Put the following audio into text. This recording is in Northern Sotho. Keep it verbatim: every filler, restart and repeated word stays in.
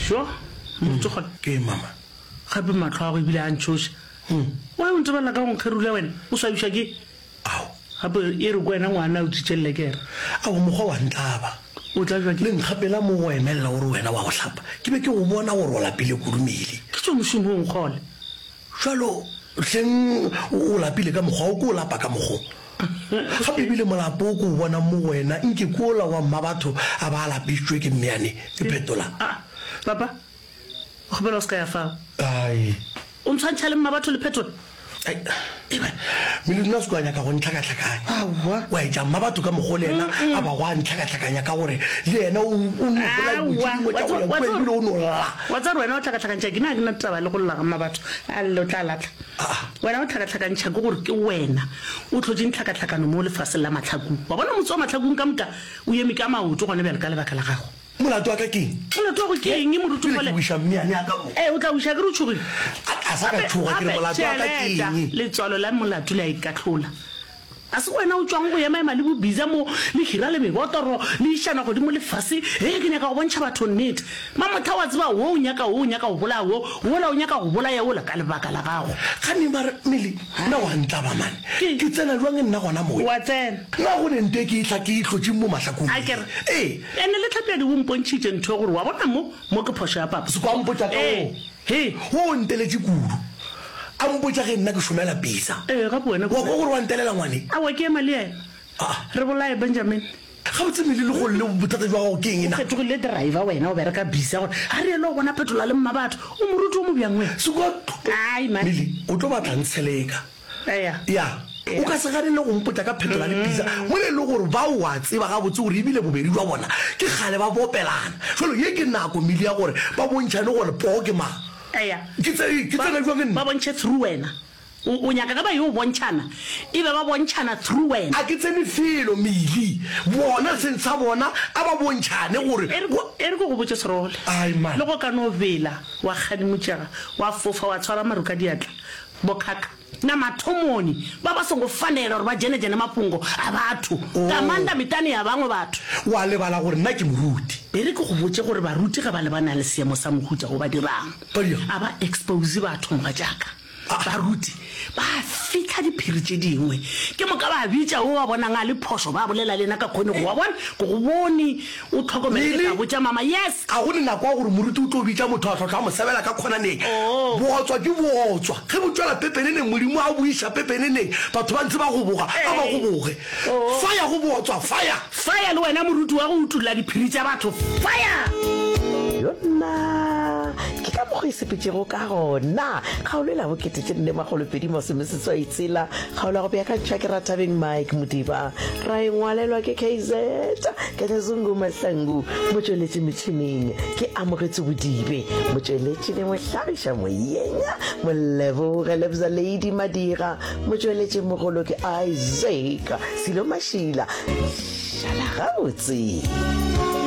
Jo, moruti Kgole. Ke mama. Gape mahlo a go ebile a ntšhoša. Why o ntebelela ka go nkgerula wena? O swabišwa ke? Ao. Gape e re ko wena ngwana o tswitše lekere. Ao, mokgwa wa ntlaba. O tlabjwa ke? Le nkgapela mo go emelela o re wena wa go hlapa. Ke be ke go bona gore o lapile kudu Meli. Ke tšwa mošomong Kgole. Bjalo hleng o lapile ka mokgwa o, ke o lapa ka mokgo. Gape ebile molapo o ke o bonang mo go wena nke ke wola wa mmabatho a ba a lapišitšwe ke mmeane. Ke phetola. Aa, papa, o kgopela o se ka ya fao. Ai. O ntshwantšha le mmabatho le phetola? Ai, Melodi nna o se ke wa nyaka go ntlhakahlakanya. Aowa. Wa etša mmabatho ka mokgo le yena a bago a ntlhakahlakanya ka gore le yena o, o no bolela dilo tše dingwe tša go ya kua ebile o no lla. Wa tseba gore wena o hlakahlakantšha ke? Nna ga ke na taba le go lla ga mmabatho. A lle o tla lahla. Wena o hlakahlakantšha ke gore ke wena o hlotšeng tlhakahlakano mo lefaseng la Mahlakung. Wa bona motse wa Mahlakung ka moka o eme ka maoto gona bjale ka lebaka la gago. Molato wa ka ke eng? Molato wa go ke eng, moruti Pele ke Kgole? wiša mmeane ya ka mo. Ee, o tla wiša ke re o tšhogile. A, a sa ka Gape, tšhoga, ke re gape, molato wa ka ke theeletša, eng? letswalo la molato le a ikahlola. A se wena o tšwang go emaema le bobiza mo, le hira le mebotoro, le išana godimo le fase, Hei, ke nyaka go bontšha batho nnete. Mamotha, wa tseba, wo o nyaka wo, o nyaka go bolaya wo, wola o nyaka go bolaya wola ka lebaka la gago. Kgane mare, Meli, nna wa ntlaba mane. Ke. Ke tsena bjang nna gona mowe? Wa tsena. Na go ne nto e ke e hla ke e hlotšeng mo mahlakong? A ke re. Ee. Ene le Tlhapjadi o mpontšhitše ntho gore, wa bona mo, mo ke phošo ya papa. Se kwa mpotša ka wo. Ee. He. Wo o nteletše kudu. A mpotša ge nna ke šomela pizza. Ee, gape wena ke. Wa kwa gore wa ntelela ngwane? Aowa, ke ema le yena. Aa. Re bolaye Benjamin. Gabotse Meli le golle bothata jwa gago ke eng na? O fetogile driver wena o bereka bisa gore a re yelo bona phetola le mmabatho. O moruti o mo bjang wena? Se kwa. Ai man. Meli, o tlo batla ntsheleka. Eya. Ya. O ka se gane le go mpotša ka phetola le pizza mola e le gore bao wa tseba gabotse gore ebile bobedi jwa bona ke kgale ba bopelana. Jwalo ye ke nako Meli ya gore ba bontšhane gore poo ke mang. Eya. Ke tse, ke Ba, tsena bjang nna? ba bontšhe through wena. O, o nyaka ge ba yo bontšhana, e be ba bontšhana through wena. A ke tsene felo, Mili. Bona, seng sa bona, a ba bontšhane gore E re, wa. e re ke go botše Serole. Ai, man. Le go ka no bela, wa kgadimotšega, wa fofa, wa tshwara maru ka diatla, bokhakha. Na mathomoni, ba ba songo fanela uri vha dzhene-dzhene mafhungo a vhathu, nga maanḓa miṱani ya vhaṅwe vhathu. Wa lebala gore nna ke moruti. E re ke go botše gore baruti ge ba lebana le seemo sa mohuta wo ba dirang. Ba dirang? A ba expose batho, mogatšaka. Baruti ba fihla diphiri tše dingwe. Ke moka ba bitša wo ba bonang a le phošo, ba bolela le yena ka kgonego. Wa bona? Ke go bone o tlhokomele, ke tla botša mama. Yes! Ga go ne nako ya gore moruti o tlo bitša motho a hlotla a mo sebela ka khonaneng. Bootswa ke bootswa. Ge bo tšwela pepeneneng, Modimo a bo iša pepeneneng, batho ba ntse ba goboga, a ba goboge. Fire go bootswa, fire! Fire le wena moruti wa go utolla diphiri tša batho, fire! Yona ke ka mokgo e sepetšego ka gona. Kgaolo e la bokete tše nne makgolo pedi masome seswai tshela, kgaolo ya go beakantšhwa ke Rathabeng Mike Modiba, ra e ngwalelwa ke K Z Kehla Zungu Mahlangu, motšweletši metšhineng ke Amogetso Bodibe, motšweletši le mohlagiša moyeng Moleboge Lebza Lady Madira, motšweletši mogolo ke Isaac Silo Mašila. Šala gabotse.